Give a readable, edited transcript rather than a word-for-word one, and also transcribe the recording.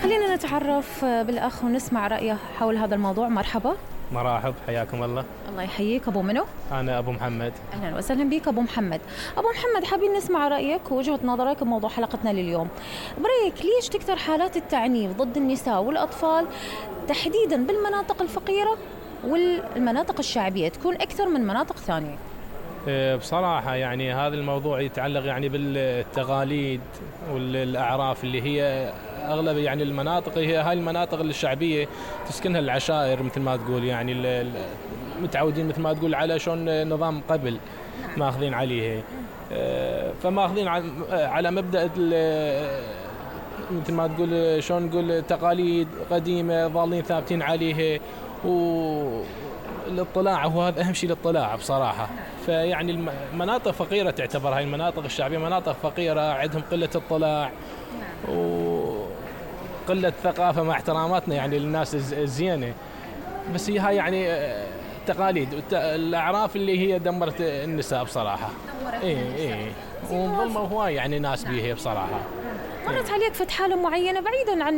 خلينا نتعرف بالأخ ونسمع رأيه حول هذا الموضوع. مرحبا. مرحب، حياكم الله. الله يحييك. أبو منو؟ أنا أبو محمد. أهلا وسهلا بك أبو محمد. أبو محمد، حابين نسمع رأيك ووجهة نظرك بموضوع حلقتنا لليوم. برأيك ليش تكثر حالات التعنيف ضد النساء والأطفال تحديدا بالمناطق الفقيرة والمناطق الشعبية تكون أكثر من مناطق ثانية؟ بصراحة يعني هذا الموضوع يتعلق يعني بالتقاليد والأعراف اللي هي أغلب يعني المناطق، هي هاي المناطق الشعبية تسكنها العشائر مثل ما تقول، يعني متعودين مثل ما تقول على شلون نظام قبل ماخذين عليه، فماخذين على مبدأ مثل ما تقول شلون نقول تقاليد قديمة ظالين ثابتين عليه، والاطلاع هو هذا أهم شيء، الاطلاع بصراحة. فيعني المناطق فقيرة تعتبر هاي المناطق الشعبية مناطق فقيرة، عندهم قلة اطلاع وقلة ثقافة مع احتراماتنا يعني للناس الزينة، بس هي هاي يعني تقاليد الأعراف اللي هي دمرت النساء بصراحة. إيه وظلموا هواي يعني ناس بيها بصراحة. مرت عليك فت حالة معينة بعيدا عن